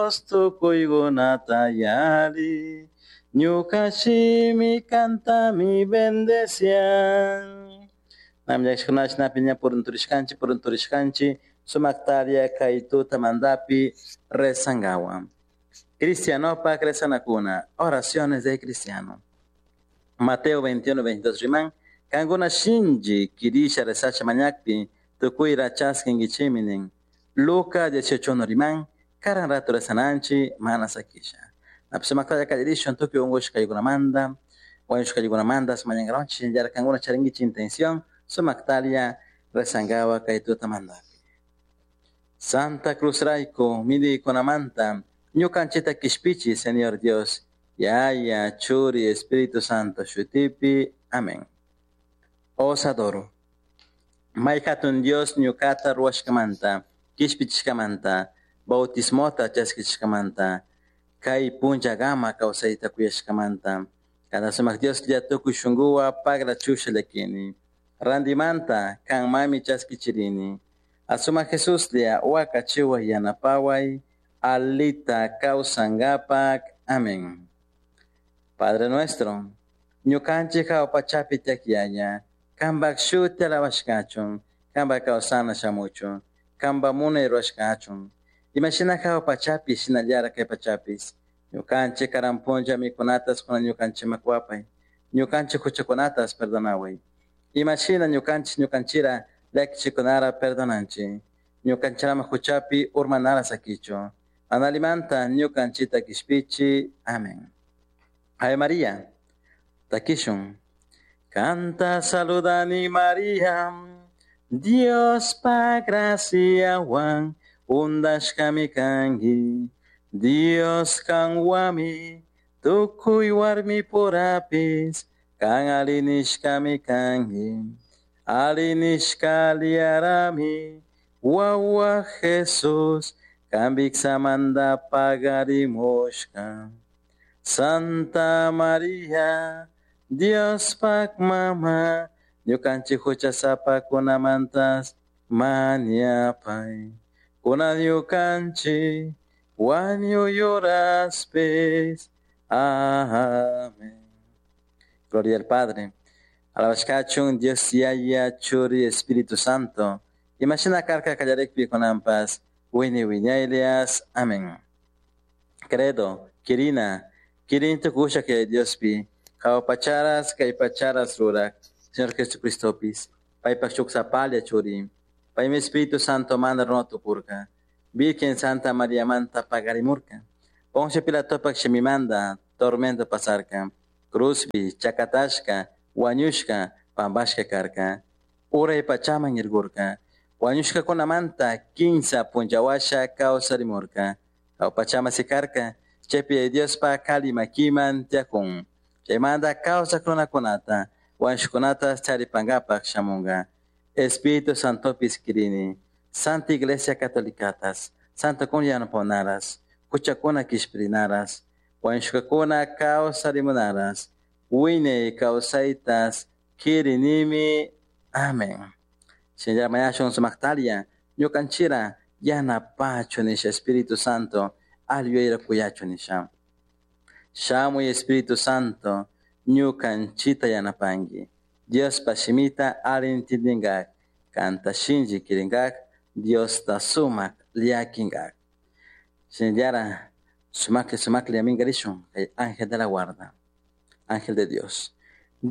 Dios tukuykunata yali. Ñuka shimi kantami bendecian. Namllashkunash piña purunturishkanchik purunturishkanchik sumaktaria kay tutamantapi rezankawan. Cristianopak rezanakuna, oraciones de cristiano. Mateo 21, 22 riman, kankuna shinchi kirisha rezasha mañakpi, tukuyra chaskinkichimi nin. Lucas 18 riman, karan rato rezananchi mana sakisha. Napi kallarishun tukuy unkushkaykunamanta, wañushkaykunamanta mañankaronchik shinallara kankuna charinkichik intención sumaktaria rezankawa kay tutamantapi. Santa Cruz rayku millaykunamanta ñukanchikta kishpichi Señor Dios, Yaya, Churi, Espíritu Santo shutipi. Amén. Os adoro. May hatun Dios ñukata ruwashkamanta, kishpichishkamanta, bautismota chaskichishkamanta, kay punllakama kawsayta kuyashkamanta. Kada sumak Dios tukuy shunkuwan pagra chusha llakini. Randimanta kanmami chaskichirini. Asumak Jesuslla wakachiway yanapaway, alita kawsankapak. Amén. Padre nuestro, ñukanchik hawa pachapi tiyak Yaya, kanpak shuti alabashkachun, kanpak kawsana shamuchun, kanpak munay rurashkachun. Imashina hawa pachapi shinallara kay pachapis. Ñukanchik karan punlla mikunatas kunan ñukanchikman kuwapay. Ñukanchik huchakunatas perdonaway. Imashina ñukanchik ñukanchira llakichikunara perdonanchik. Ñukanchirama huchapi urmanara sakichu. Analimanta ñukanchita kishpichi. Amén. Ave María, takishun. Kanta saludani María, Dios pa graciawan undashkami kanki. Dios kanwami, tukuy warmi purapis, kan alinishkami kanki. Alinishka liarami, wawa Jesus, kan viksamanta pagarimushka. Santa María, Dios pak mama, ñukanchik huchasapakunamantas mañapay. Kunan ñukanchik wañuy horaspis. Amén. Gloria al Padre. Alabashkachun Dios Yaya Churi Espíritu Santo. Imashina karka kallarikpi kunanpas. Wiñay wiñaylias. Amén. Credo, Kirina, Kirin tukusha que Diospi, pacharas kay pacharas rurak, Señor Jesucristopis, paypak shuk sapalla churi, paymi Espíritu Santo manda runa tukurka, Virgen Santa María manta pagarimurka, Poncio Pilatopak shimimanda, tormento pasarka, cruzpi, chakatashka, wañushka, pampashka karka, uray pachaman irgurka, wañushkakunamanta kinsa punllawasha kawsarimurka, pachama sikarka, chaypi Diospa kali makiman tiyakun. Chaymanta kawsak runakunata, wañushkunata charipankapak shamunka. Espíritu Santopis kirini, Santa Iglesia Catolicatas, Santa kun yanaponaras, huchakuna kishpirinaras, wañushkakuna kawsarimunaras, wiñay kawsaytas kirinimi. Amén. Shinallara mañashun sumaktaria, ñukanchira yanapachu nisha Espíritu Santo, aliyuyayra kuyachu nisha. Shamuy Espíritu Santo, ñukanchita yanapanki. Diospa shimita alli intindinkak, kanta shinchi kirinkak, Diosta sumak llakinkak. Shinallara sumakli sumakli aminkarishun kay ángel de la guarda, ángel de Dios.